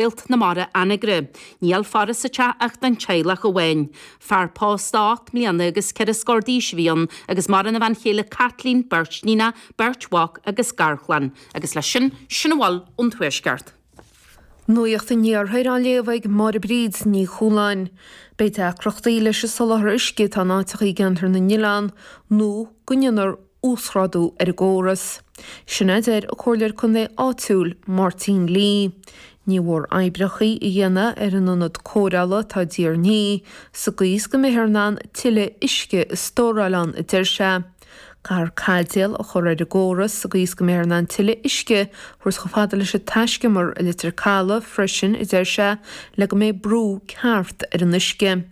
Réalt na Mara Anagaire. Níl faire sa teach ach don teaghlach amháin. Fear pósta 8 mbliana agus 4 scór d'aois a bhí ann agus maireann a bhean chéile Caitlín, beirt níonacha, beirt mhac agus garchlann. Agus leis sin, sin a bhfuil ón Tuaisceart. Nuacht an Iarthair á léamh ag Máire Bríd Ní Chualáin. Beidh deacrachtaí leis an soláthar uisce atá in áiteacha i gCeantar na nOileán nó go ndéanfar uasghrádú ar an gcóras. Sin a deir an Comhairleoir Contae áitiúil, Máirtín Lee. Ní mhór oibreachaí a dhéanamh ar an ionad cóireála atá i dTír an Fhia sa gcaoi is go mbeifear in ann tuilleadh uisce a stóráil ann, a deir sé. Caithfear caidéal a chur ar an gcóras sa gcaoi is go mbeifear in ann tuilleadh uisce a thabhairt chomh fada leis an taiscumar i Leitir Caladh freisin, a deir sé, le go mbeidh brú ceart ar an uisce.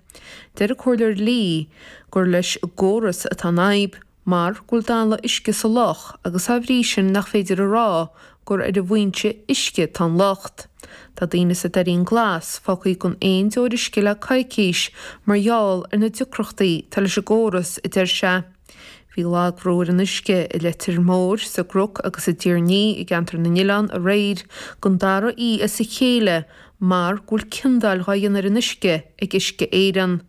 Deir an Comhairleoir Lee gur leis an gcóras atá an fhadhb. mar go bhfuil dalladh uisce sa loch agus dá bhrí sin nach féidir a rá gur ar an bhfoinse uisce atá an locht. Tá daoine sa Doirín Glas fágtha gan aon deoir uisce le coicís mar gheall ar na deacrachtaí atá leis an gcóras, a deir sé. Bhí lagbhrú ar an uisce i Leitir Móir, sa gCnoc agus i dTír an Fhia i gCeantar na nOileán aréir don dara oíche as a chéile mar go bhfuil ciondáil dhá dhéanamh ar an uisce ag Uisce Éireann.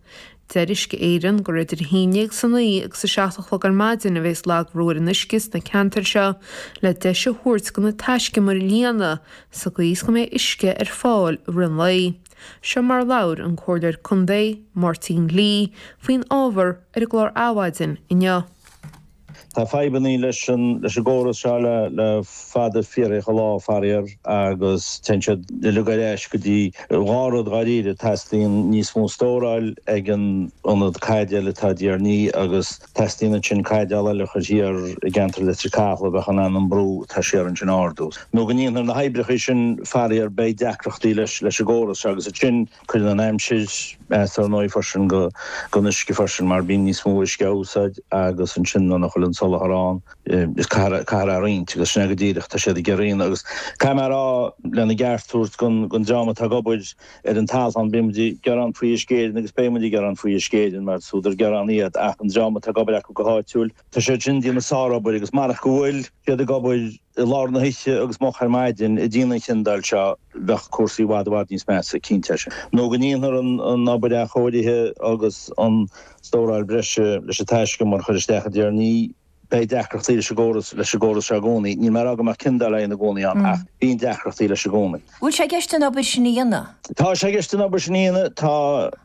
Deir Uisce Éireann gur idir 11 agus 9 agus 7 a chlog ar maidin a bhéas lagbhrú ar an uisce sna ceantair seo le deis a thabhairt do na taiscumair líonadh sa gcaoi is go mbeidh uisce ar fáil i rith an lae. Seo mar a labhair an Comhairleoir Contae, Máirtín Lee, faoin ábhar ar an gclár Adhmhaidin inniu. Tá fadhbannaí leis an leis an gcóras seo le le fada fíorthacha lá, faraor, agus téann siad uilig ar ais go dtí dhá rud dháiríre, teastaíonn níos mó stóráil ag an ionad caidéil atá i dTír an Fhia agus teastaíonn ansin caidéal eile a chur thiar i gceantar Leitir Cathail a bheadh in ann an brú atá siar ansin a ardú. Nó go ndéanfar na hoibreacha sin, faraor, beidh deacrachtaí leis leis an gcóras seo agus ansin Cuireann an aimsir as ar ndóigh freisin don uisce freisin mar bíonn níos mó uisce á úsáid agus ansin nuair nach bhfuil an soláthar ann is caithfear caithfear é a roinnt agus sin é go díreach tá siad ag iarraidh a dhéanamh agus caithfidh mé a rá lena gceart a thabhairt don dream atá ag obair ar an talamh bíonn muid ag gearán faoi Uisce Éireann agus beidh muid ag gearán faoi Uisce Éireann mar is údar gearán iad ach an dream atá ag obair acu go háitiúil tá siad sin ag déanamh sárobair agus marach go bhfuil siad ag obair i lár na hoíche agus moch ar maidin ag déanamh an chiondáil seo bheadh cúrsaí i bhfad i bhfad níos measa, cinnte é sin. Nó go ndéanfar an obair athchóirithe agus an stóráil breise leis an taiscumar a chur isteach i dTír an Fhia, beidh deacrachtaí leis an gcóras leis an gcóras seo i gcónaí. Níl mé ag rá go mbeadh ciondáil á dhéanamh i gcónaí ann ach bíonn deacrachtaí leis i gcónaí. Bhfuil sé i gceist an obair sin a dhéanamh? Tá sé i gceist an obair sin a dhéanamh. Tá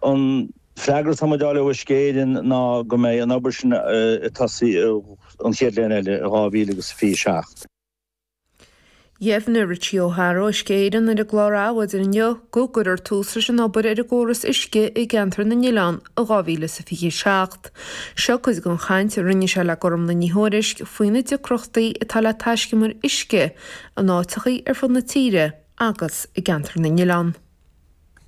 an freagra atá muid a fháil ó Uisce Éireann ná go mbeidh an obair sin ag tosaí an chéad bhliain eile, i 2027. Dheimhnigh Richie O'Hara ó Uisce Éireann ar an gclár Adhmhaidin inniu go gcuirfear tús leis an obair ar an gcóras uisce i gceantar na nOileán i 2027. Seo cuid den chaint a rinne sé le Gormlaith Ní Thuairisg faoi na deacrachtaí atá le taiscumair uisce in áiteachaí ar fud na tíre agus i gceantar na nOileán.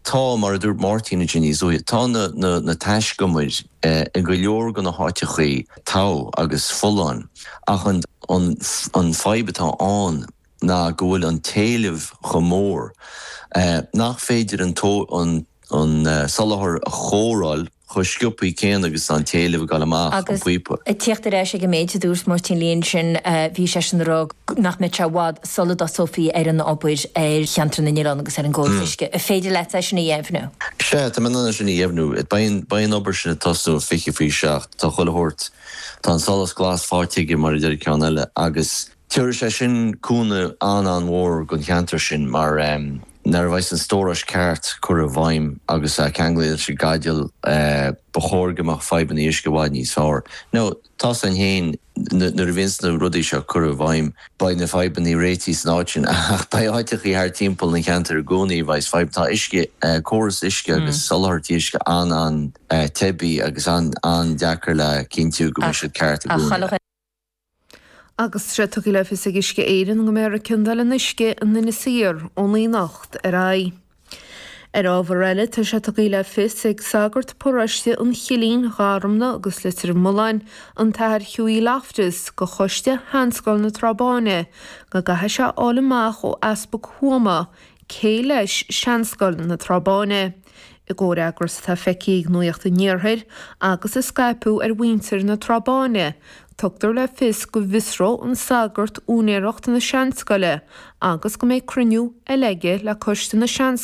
Tá, mar a dúirt Máirtín ansin níos luaithe, tá na, na, na taiscumair i go leor de na háiteachaí togha agus folláin ach an, an, an fadhb atá ann ná go bhfuil an t-éileamh chomh mór nach féidir an, an, an soláthar a chóireáil chomh sciobthaí céanna agus tá an t-éileamh ag dul amach an Agus píopa. ag tíocht ar ais ag an méid a dúirt Máirtín Lee ansin, bhí seisean ag rá nach mbeadh sé i bhfad sula dtosófaí ar an obair ar cheantar na nOileán agus ar an gcóras uisce. An féidir leat é sin a dheimhniú? Sea, tá mé in ann é sin a dheimhniú. Beidh beidh an obair sin ag tosnú i 20 faoi 7. Tá chuile shórt, tá an solas glas faighte aige mar a deir an ceann eile agus tabharfaidh sé sin cúnamh an-an-mhór don cheantar sin mar Nuair a bheas an stórais ceart curtha i bhfeidhm agus ceanglaithe leis an gcaidéal, ba chóir go mbeadh fadhbanna uisce i bhfad níos fearr. Now, tá's againn féin, nuair a bhíonns na rudaí seo curtha i bhfeidhm, beidh na fadhbanna réitithe san áit sin, ach beidh áiteachaí thart timpeall an cheantair i gcónaí a bheas fadhb. Tá uisce, córas uisce agus soláthairtí uisce an-an-teibí agus an-an-deacair le cinntiú go mbeidh siad ceart i gcónaí. Agus tá sé tugtha le fios ag Uisce Éireann go mbeifear ag ciondáil an uisce in Inis Oírr ón anocht ar aghaidh. Ar ábhar eile, tá sé tugtha le fios ag sagart paróiste an Chillín, Gharmna agus Leitir Mealláin, an tAthair Hughie Loftus, go Choiste Sheanscoil na Trá Báine go gcaithfidh sé a fháil amach ó Easpag Thuama cé leis Seanscoil na Trá Báine. I gcomhfhreagras atá feicthe ag Nuacht an Iarthair agus a scaipeadh ar mhuintir na Trá Báine. Tugtar le fios go bhfiosróidh an sagart úinéireacht na seanscoile agus go mbeidh cruinniú eile aige le coiste na seanscoile.